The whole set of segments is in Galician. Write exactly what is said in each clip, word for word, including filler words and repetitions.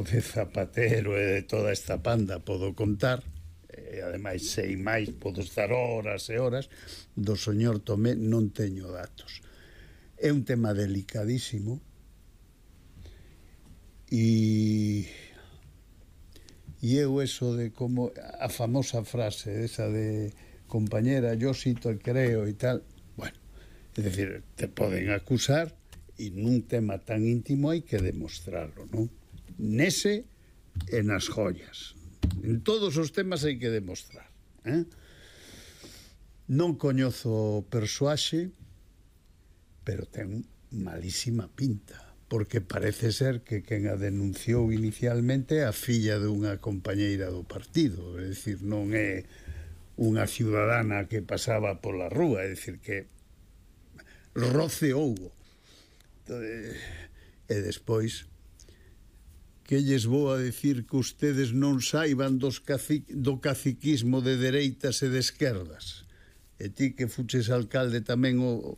de Zapatero e de toda esta panda podo contar, e ademais sei máis, podo estar horas e horas. Do señor Tomé non teño datos. É un tema delicadísimo e e eu eso de como a famosa frase esa de compañera, yo sí te creo e tal, bueno, é dicir, te poden acusar e nun tema tan íntimo hai que demostrarlo, non? Nese e nas joyas, en todos os temas hai que demostrar, eh? Non coñezo o persoaxe, pero ten malísima pinta, porque parece ser que quen a denunciou inicialmente é a filla dunha compañeira do partido, é dicir, non é unha ciudadana que pasaba pola rúa, é dicir, que roce houbo. E despois, que lles vou a decir que ustedes non saiban dos cacic, do caciquismo de dereitas e de esquerdas? E ti que fuches alcalde tamén, o,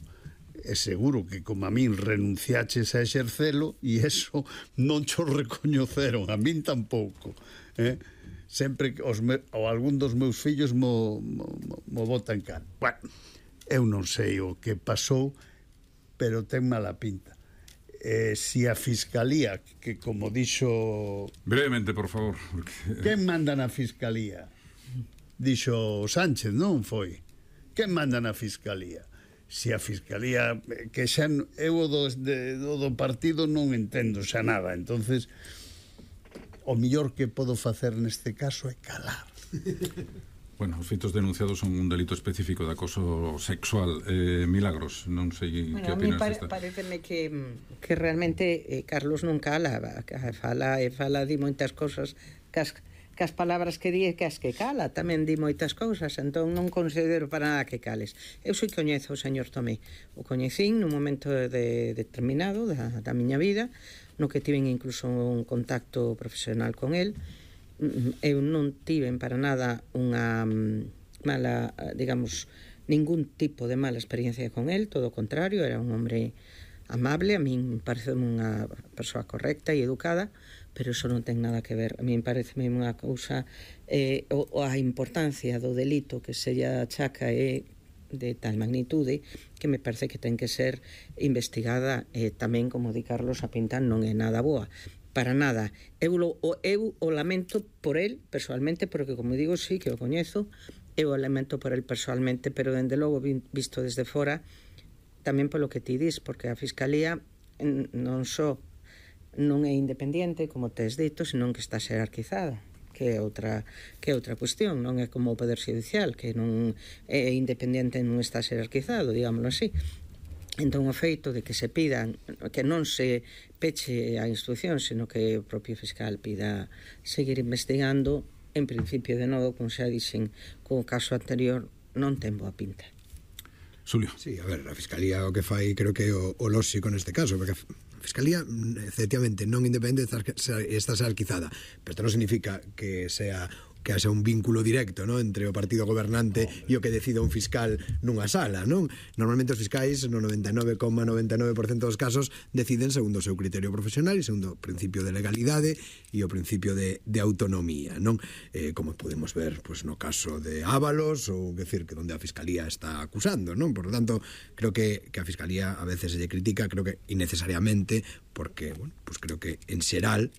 é seguro que como a min renunciaches a exercelo e eso non cho recoñeceron, a min tampouco, eh? Sempre que os me, ou algún dos meus fillos mo, mo, mo botan can. Bueno, eu non sei o que pasou, pero ten mala pinta. Eh, si a Fiscalía, que como dixo... Brevemente, por favor. Porque... Quen manda na Fiscalía? Dixo Sánchez, non foi? Quen manda na Fiscalía? Si a Fiscalía, que xa eu do, de, do partido non entendo xa nada, entonces o millor que podo facer neste caso é calar. Bueno, os feitos denunciados son un delito específico de acoso sexual. eh, Milagros, non sei bueno, que opinas pare, desta. Pareceme que, que realmente eh, Carlos non cala, fala e fala di moitas cousas cas, cas palabras que di e cas que cala, tamén di moitas cousas, entón non considero para nada que cales. Eu sei coñezo o señor Tomé, o coñecín nun momento de, determinado da, da miña vida, no que tiven incluso un contacto profesional con el. Eu non tiven para nada unha mala, digamos, ningún tipo de mala experiencia con el, todo o contrario, era un hombre amable, a min parece unha persoa correcta e educada, pero eso non ten nada que ver. A min parece unha cousa, eh, o, a importancia do delito que se lle achaca é de tal magnitude que me parece que ten que ser investigada, e tamén, como di Carlos, a pinta non é nada boa. Para nada. Eu o, eu o lamento por el personalmente, porque, como digo, sí que o coñezo, eu o lamento por el personalmente, pero, dende logo, visto desde fora, tamén polo que ti dis, porque a Fiscalía non só non é independiente, como tes dito, senón que está xerarquizada, que é outra que é outra cuestión, non é como o Poder Xudicial, que non é independente, non está xerarquizado, digámoslo así. Entón, o feito de que se pidan, que non se peche a instrucción, sino que o propio fiscal pida seguir investigando, en principio, de novo, como xa dixen co caso anterior, non ten boa pinta. Xulio. Sí, a ver, a Fiscalía o que fai creo que é o, o lóxico neste caso, porque a Fiscalía, efectivamente, non independente, está xerarquizada, pero isto non significa que sea que haxa un vínculo directo, non, entre o partido gobernante oh, e o que decida un fiscal nunha sala, non? Normalmente os fiscais no noventa e nove coma noventa e nove por cento dos casos deciden segundo o seu criterio profesional e segundo o principio de legalidade e o principio de, de autonomía, non? Eh, como podemos ver, pues, no caso de Ábalos, ou decir que onde a Fiscalía está acusando, non? Por lo tanto, creo que, que a Fiscalía a veces se lle critica, creo que innecesariamente, porque, bueno, pues creo que en xeral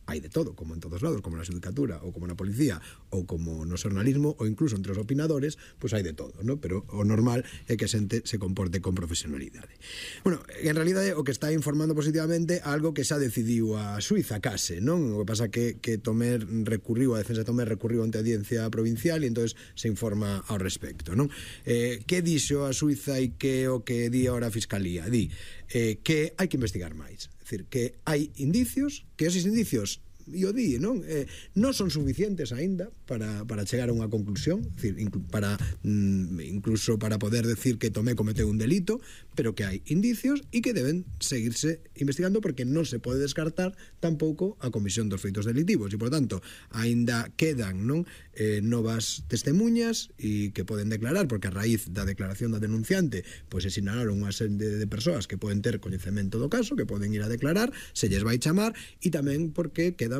hai de todo, como en todos lados, como na xudicatura, ou como na policía, ou como no xornalismo, ou incluso entre os opinadores, pois hai de todo, ¿no? Pero o normal é que a xente se comporte con profesionalidade. Bueno, en realidade o que está informando positivamente algo que xa decidiu a Suiza case, non? O que pasa que, que Tomé recurriu, a defensa de Tomé recurriu ante a audiencia provincial e entonces se informa ao respecto, non? Eh, que dixo a Suiza e que o que di ahora a Fiscalía? Di eh, que hai que investigar máis. É dicir, que hai indicios, que esos indicios, e o di, non? Eh, non son suficientes aínda para, para chegar a unha conclusión, é dicir, inclu, para, mm, incluso para poder decir que Tomé cometeu un delito, pero que hai indicios e que deben seguirse investigando, porque non se pode descartar tampouco a comisión dos feitos delictivos, e, por tanto, aínda quedan, non, eh, novas testemunhas e que poden declarar, porque a raíz da declaración da denunciante, pois se sinalaron unha serie de, de persoas que poden ter coñecemento do caso, que poden ir a declarar, se lles vai chamar, e tamén porque queda